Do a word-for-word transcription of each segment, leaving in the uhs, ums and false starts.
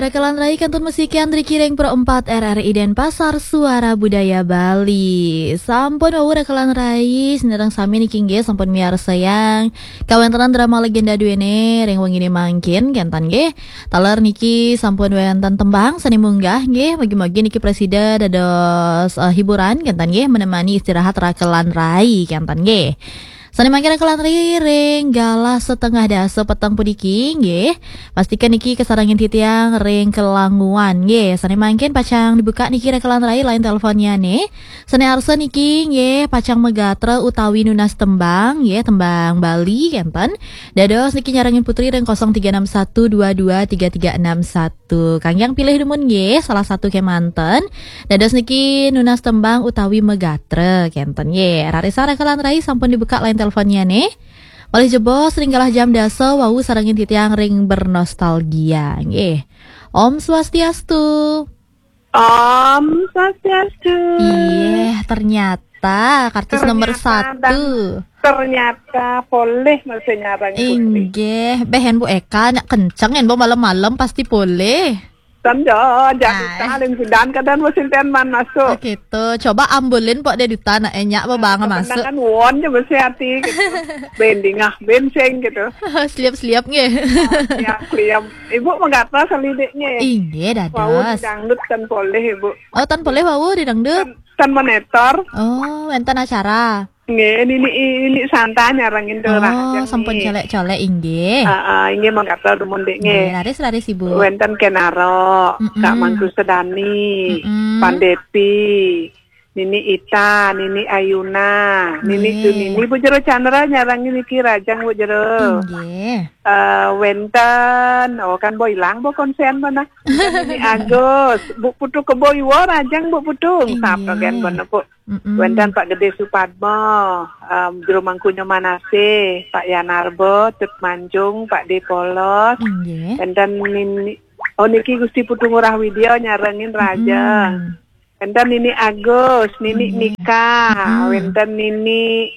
Rakelan rai kantun musik Andri Kiring Pro empat R R I Denpasar, Suara Budaya Bali. Sampun wau rakelan rai, sinareng sami niki nggih sampun miarsayang kawentenan drama legenda duene ring wengine mangkin kenten nggih. Taler niki sampun wenten tembang sane munggah nggih, mugi-mugi niki prasida dados, eh, hiburan kenten nggih, menemani istirahat rakelan rai kenten nggih. Sane mangkin rakelan rai ring galah setengah dasa peteng puniki nggih. Pastikan niki kasarengin titiang ring kelanguan nggih. Sane mangkin pacang dibuka niki rakelan rai line teleponnyane. Sane arsa niki nggih pacang magatra utawi nunas tembang nggih, tembang Bali kenten. Dados niki nyarengin Putri ring kosong tiga enam satu dua dua tiga tiga enam satu. Kangge pilih dumun nggih salah satu kemanten. Dados niki nunas tembang utawi magatra kenten nggih. Raris rakelan rai sampun dibuka line teleponnyane. Malih jebos ring galah jam dasa wau sarengin titiang ring bernostalgia nggih. Om Swastiastu. Om Swastiastu. Iya, ternyata kartus nomor Ternyata satu. dan ternyata polih masih nyarang Putri. Inggih, beh, Bu Eka, nyak kenceng, Bu, malam-malam pasti polih. Tanda, Ah. jadita ling sidan kadang musim ten man masuk. Oh, gitu. Coba ambulin, Pok, deh duta, nak enyak, apa bang masuk. Kemenangan won je mesti hati gitu. Bendingah, benseng gitu. Seliap-seliap, nggih. Ya, kliam. Ibu magatra salidiknya. Inggih, Wau dados. dangdut ten polih, Ibu. Oh, ten polih wau di dangdut? Ten, ten monitor. Oh, wenten acara. Nggih, nini, nini santa nyarengin Oh, terang sampun nggih. colek-colek, inggih. Ah, ah, inggih magatra dumun dik nggih. Nggih, raris, raris, Ibu. Wenten Kenaro, Mm-mm. Kak Mangku Sedani, Mm-mm. Pandepi, Nini Ita, Nini Ayuna, Nini Nggih. Tunini, Bu Jero Chandra nyarengin niki rajang, Bu Jero. Inggih. Eh, wenten, oh, kan bo ilang bo konsen mana. Nini Agus, Bu Putu Kebo Iwo rajang, Bu Putu. Inggih. Sapa gen mana, Bu? Mm-mm. Wenten Pak Gede Supadmo, em, Jero Mangkunyo Manase, Pak Yanarbo, Tut Manjung, Pak De Polos. Inggih. Wenten Nini, oh, niki Gusti Putu Ngurah Widya nyarengin rajang. Mm-mm. Wenten Nini Agus, Nini Nggih. Nika, Mm-mm. wenten Nini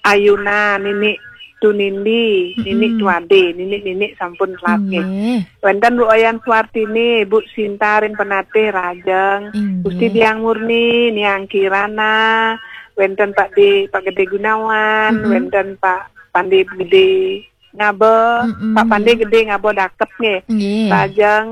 Ayuna, Nini Tunindi, Nini Mm-mm. Tuade, Nini, Nini sampun telat nggih. Nggih. Wenten Bu Oyan Suartini, Bu Sinta ring Penatih rajang, Inggih. Gusti Diang Murni, Niang Kirana, wenten Pak De, Pak Gede Gunawan, Mm-mm. wenten Pak Pande Gede Ngaba, Mm-mm. Pak Pande Gede Ngaba Dakep nggih. Nggih. Rajang,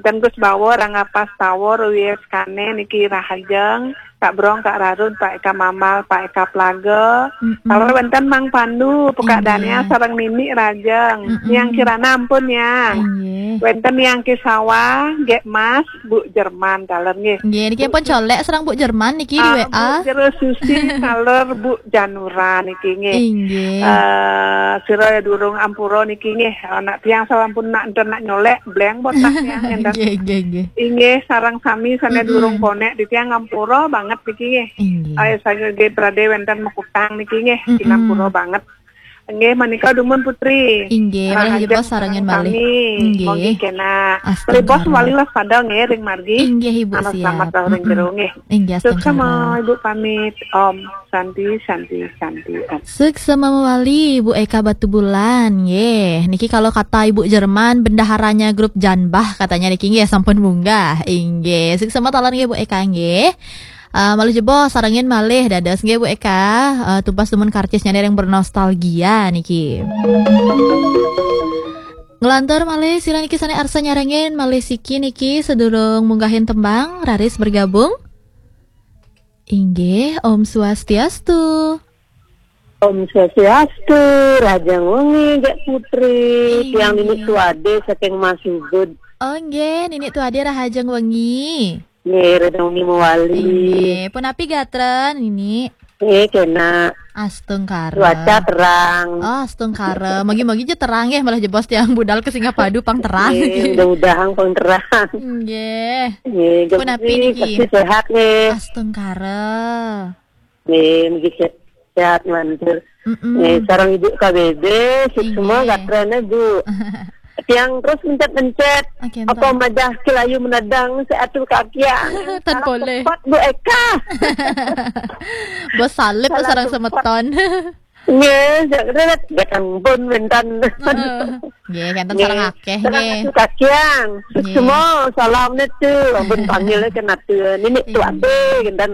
dan Gus Bawor, Rangapas Tawor, Wies Kane, niki Rahajeng, Kak Brong, Kak Rarun, Pak Eka Mamal, Pak Eka Plaga. Mm-mm. Taler wenten Mang Pandu, Pekak Inggih. Dania, sareng Nini Rajeng. Mm-mm. Niang Kirana ampun, Niang. Inggih. Wenten Niang Kisawa, Gek Mas, Bu Jerman, taler nggih. Nggih, niki Bu pun colek sareng Bu Jerman niki di Ah, W A. Bu Jero Susi, taler Bu Janura niki nggih. Inggih. Eh, sira durung ampura niki nggih. Anak tiang sampun nak enten nak nyolek, bleng botak tiang enten. Nggih, nggih, nggih. Inggih, sareng sami sane Mm-mm. durung konek di tiang ampura banget niki nggih. Inggih. Ayo saja nggih prade wenten makutang niki nggih, Mm-mm. ampura banget. Nggih, menika dumun Putri. Inggih, malih Rahajeng jebos sarengin sareng malih. Sami. Inggih. Monggi kena. Astungkara. Malih bos wali waspada nggih ring margi. Inggih, Ibu, Anak siap. selamat ring Mm-mm. jero nggih. Inggih, Suksma, astungkara. Ibu pamit. Om Santi, Santi, Santi, Om. Suksma mawali, Ibu Eka Batubulan, nggih. Niki kalau kata Ibu Jerman, bendaharanya grup Janbah katanya niki nggih sampun munggah. Inggih, suksma taler nggih Bu Eka nggih. Eh, malih jebos sarengin malih dados nggih Bu Eka, eh, tumbas dumun karcisnya ring bernostalgia niki. Nglantur malih sira niki sane arsa nyarengin malih siki niki sedurung munggahin tembang raris bergabung. Inggih, Om Swastiastu. Om Swastiastu, Rahajeng Wengi, Gek Putri, Inggih. Tiang Nini Tuade saking Masubud. Oh, nggih, Nini Tuade Rahajeng Wengi. Nggih, Rahajeng Wengi mawali. Inggih, punapi gatra, Nini? Nggih, kena. Astungkara. Cuaca terang. Oh, astungkara. Mogi-mogi aja terang ya, malah jebos tiang budal ke Singapadu pang terang. Nggih, mudah-mudahan pang terang. Nggih. Nggih, Punapi Gek Putri niki? Pasti sehat nggih. Astungkara. Nggih, mugi se-, sehat manjur. Mm-mm. Nggih, sareng Ibu K B B, sik Inggih. semua gatrane, Bu. Tiang terus mencet-mencet. Oke, Apa entar. madah kelayu menadang seatur kaki yang Tan salah boleh. tepat, Bu Eka. Bos salib Salah sareng tepat. semeton. Nggih, sak kene gak ampun wénten. Heeh. Nggih, kenten sareng akeh nggih. Kakiang. Nggih. Semua salam nitu, ampun panggil ke natu. Nini tuan deh, kenten.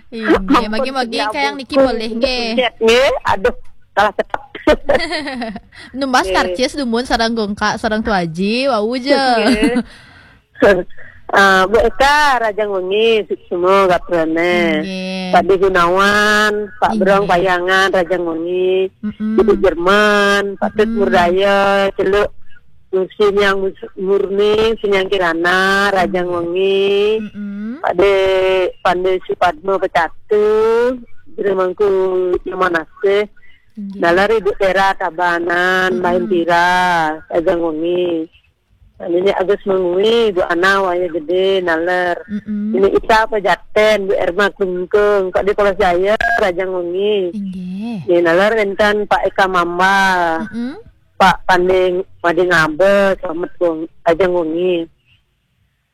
Iya, nggih, magi-magi kayang niki boleh nggih. Nggih, aduh, salah cekap. Numbas karcis dumun sareng gongkak sareng tuaji, wau je. Nggih. Ah, Bu Eka, Rajang Wengi, suksma gatrane. Nggih. Pak De Gunawan, Pak Brong Payangan, Rajang Wengi, Ibu Jerman, Pak Tut Murdaya, Celuk Nusin yang Murni, Sinyang Kirana, Rajang Wengi, Pak De Pande Supadma Pecatu, Jero Mangku Nyomanasih, Nggih. Nalar Ibu Tera Tabanan, Main Tira, Rajang Wengi. Nini Agus Mengwi, Bu Ana Waya Gede, nalar. Nini Ita Pejaten, Bu Erma Klungkung, Pak De Polos Jaya, Rajang Wengi. Inggih. Nini nalar wénten Pak Eka Mamba, Pak Panding Mading Abe, Slamet Wong, Rajang Wengi.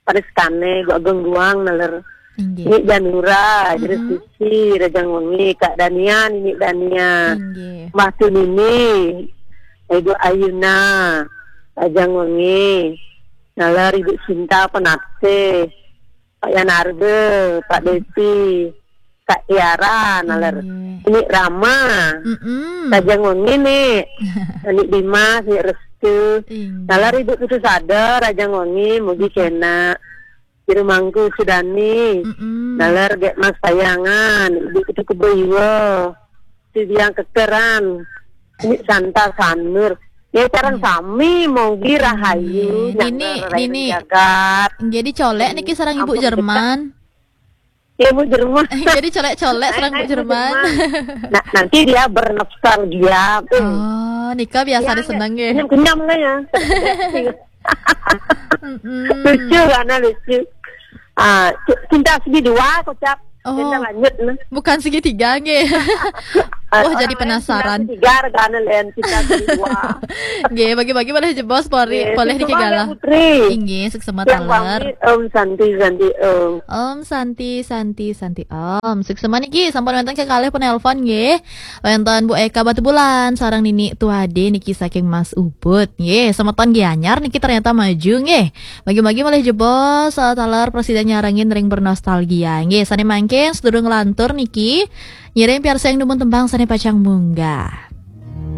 Paris Kane, Bu Ageng Guang, nalar. Inggih. Nini Janura, Jero Susi, Rajang Wengi, Kak Dania, Nini Dania. Inggih. Mbah Tunini, Ibu Ayuna, Rajang Wengi. Nalar Ibu Sinta Penatih, Pak Yanarbe, Pak Depi, Kak Tiara, nalar. Inggih. Ini Rama. Rajang Wengi, Nik. Anik Dimas, Nik Restu. Inggih. Nalar Ibu Putu Sada, Rajang Wengi, mugi kena. Jero Mangku Sudani. Nalar Gek Mas Payangan, Ibu Putu Kebo Iwa. Sidiang Kekeran. Ini Santa Sanur. Ya, sareng sami, mugi rahayu, Nini, nyangga rai Nini. Jagat. Nggih, dicolek niki sareng Ibu Jerman. Ya, Bu Jerman. Nggih, dicolek-colek sareng Bu Jerman. Nah, nanti dia bernostalgia. Oh, nika biasa diseneng nggih. Kenyam-kenyam lah ya. Lucu karena lucu. Ah, cinta segidua kocap. Oh. Cinta lanjut nah. Bukan segitiga nggih. Wah, jadi penasaran. Segitiga regane len cinta segidua. Nggih, bagi-bagi boleh jebos pori, boleh niki galah. Putri. Inggih, suksma taler. Om Santi, Santi Om. Om Santi, Santi, Santi Om. Suksma niki sampun wénten kekalih penelpon nggih. Wénten Bu Eka Batubulan sareng Nini Tuade niki saking Mas Ubud. Nggih, semeton Gianyar niki ternyata maju nggih. Bagi-bagi malih jebos, eh, taler presiden nyarengin ring bernostalgia. Nggih, sane mangkin sedurung lantur niki ngiring piarsayang dumun tembang sane pacang munggah.